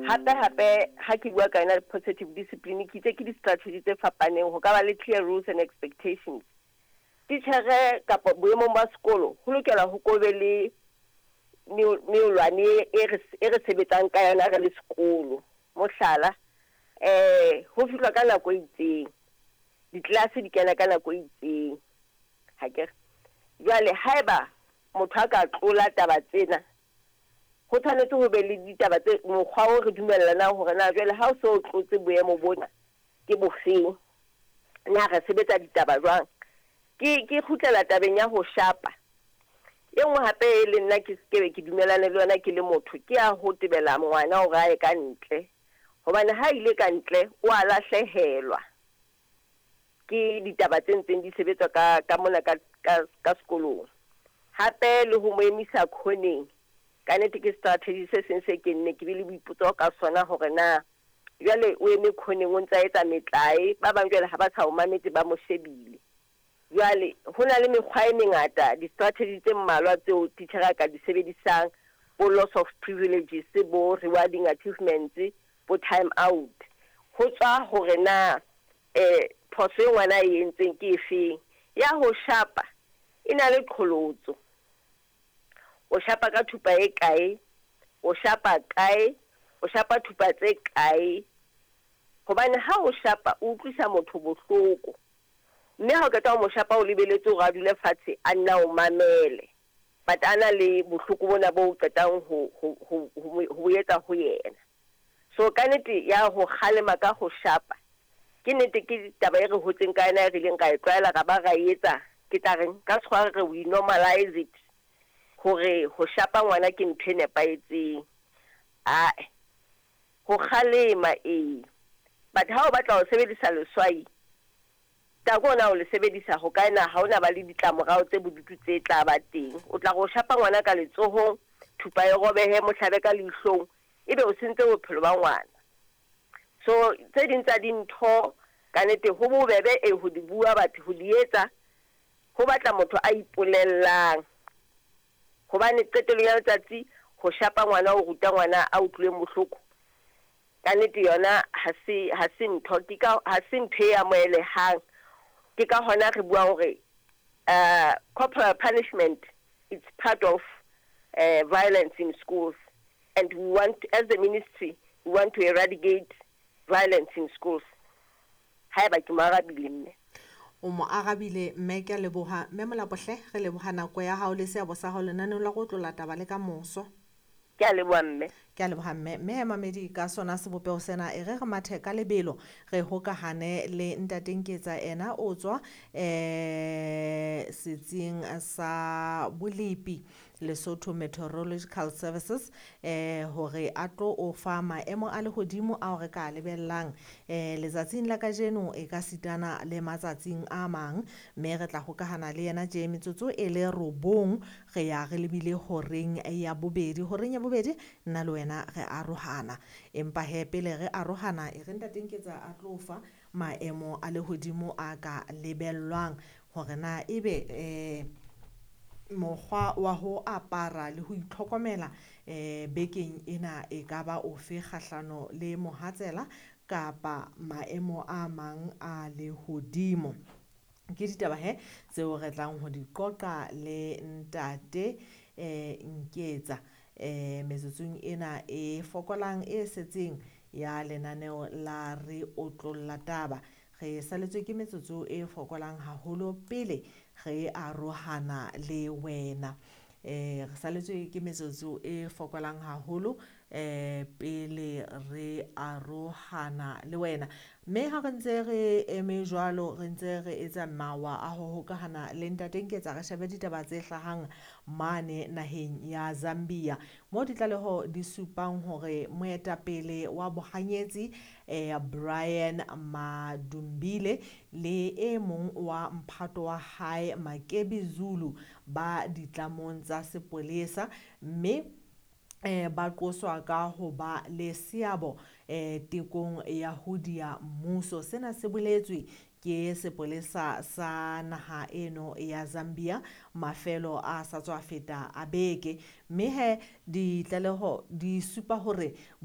Hape hape ha ke bua ka yona positive discipline, ke itse ke di-strategy tse fapaneng. Ho ka ba le clear rules and expectations. Titjhere kapa boemong ba sekolo ho lokela ho ko be le meolwane e re sebetsang ka yona re le sekolo. Mohlala, ho fihlwa ka nako e itseng, ditlelase di kena ka nako e itseng, hakere? Jwale haeba motho a ka tlola taba tsena, ho tshwanetse ho be le ditaba tse mokgwa o re dumellanang hore na jwale ha o so tlotse boemo bona ke bofeng, na re sebetsa ditaba jwang. Ke kgutlela tabeng ya ho shapa. E nngwe hape e le nna ke ke be ke dumelane le yona ke le motho, ke ya ho tebela ngwana hore a ye ka ntle, hobane ha ile ka ntle o a lahlehelwa ke ditaba tse ntseng di sebetswa ka mona ka sekolong. Hape le ho mo emisa khoneng, ka nnete ke strategy se seng se ke nne ke be le boipotso ka sona, hore na jwale o eme khoneng o ntsa etsa metlae, ba bang jwale ha ba sa o mametse, ba mo shebile. Jwale ho na le mekgwa e mengata, di-strategy tse mmalwa tseo titjhere a ka di sebedisang, bo loss of privileges, bo rewarding achievements, bo time out, ho tswa hore na phoso e ngwana e entseng ke efeng. Ya ho shapa e na le qholotso. O shapa ka thupa e kae, o shapa kae, o shapa thupa tse kae? Hobane ha o shapa o utlwisa motho bohloko, mme ha o qeta ho mo shapa, o lebeletse hore a dule fatshe, a nna o mamele, but a na le bohloko bona bo o qetang ho etsa ho yena. So ka nnete ya ho kgalema ka ho shapa, ke nnete ke taba e re hotseng ka yona, e re ileng ra e tlwaela, ra ba ra etsa, ke tla reng ka sekgowa re we normalize it, hore ho shapa ngwana ke ntho e nepahetseng. Ae, ho kgalema ee, but ha o batla ho sebedisa leswai tako ona, o le sebedisa ho kae? Na ha ona ba le ditlamorao tse bodutu tse tla ba teng? O tla re o shapa ngwana ka letsohong, thupa e robehe, mohlabe ka leihlong, ebe o sentse bophelo ba ngwana. So tse ding tsa dintho ka nnete ho bobebe e ho di bua, batho ho di etsa ho batla motho a ipolellang, hobane qetellong ya letsatsi ho shapa ngwana, o ruta ngwana a utlwileng bohloko, ka nnete yona ha se ntho, ke ka ha se ntho e amohelehang. Ke ka hona re buang hore corporal punishment, it's part of violence in schools, and we want, as the ministry, we want to eradicate violence in schools. Haeba ke mo arabile, mme. O mo arabile, mme, ke a leboha. Mme Molapohle, re leboha nako ya hao le seabo sa hao lenaneong la go tlola taba le ka moso. Ke a leboha, mme. Ke a leboha, mme. Mme mamedi, ka sona sebopeho sena, e re re mathe ka lebelo, re hokahane le ntate Nketsa. Ena o tswa setsing sa bolepi, Lesotho Meteorological Services, hore a tlo o fa maemo a lehodimo ao re ka lebellang letsatsing la kajeno, e ka sitana le matsatsing a mang. Mme re tla hokahana le yena tje metsotso e le 9 re ya re lebile horeng ya bobedi. Horeng ya bobedi nna le wena re arohana, empa he pele re arohana, e re ntate Nketsa a tlo fa maemo a lehodimo a ka lebellwang, hore na ebe mokgwa wa ho apara le ho itlhokomela bekeng ena e ka ba ofe kgahlano le mohatsela kapa maemo a mang a lehodimo. Ke ditaba he tseo re tlang ho di qoqa le ntate Nketsa metsotsong ena e fokolang e setseng ya lenaneo la Re Otlolla Taba. Re saletswe ke metsotso e fokolang haholo pele re arohana le wena. Re saletswe ke metsotso e fokolang haholo pele re arohana le wena. Mme ha re ntse re eme jwalo, re ntse re etsa mawa a ho hokahana le ntate Nketsa, re shebe ditaba tse hlahang mane naheng ya Zambia, mo ditlaleho di supang hore moetapele wa bohanyetsi Brian Madumbile le e mong wa mphato wa hae, Makebi Zulu, ba ditlamong tsa sepolesa, mme ba qoswa ka ho ba le seabo tekong ya ho dia mmuso. Sena se boletswe ke sepolesa sa naha eno ya Zambia mafelo a sa tswa feta a beke. Mme he ditlaleho di supa hore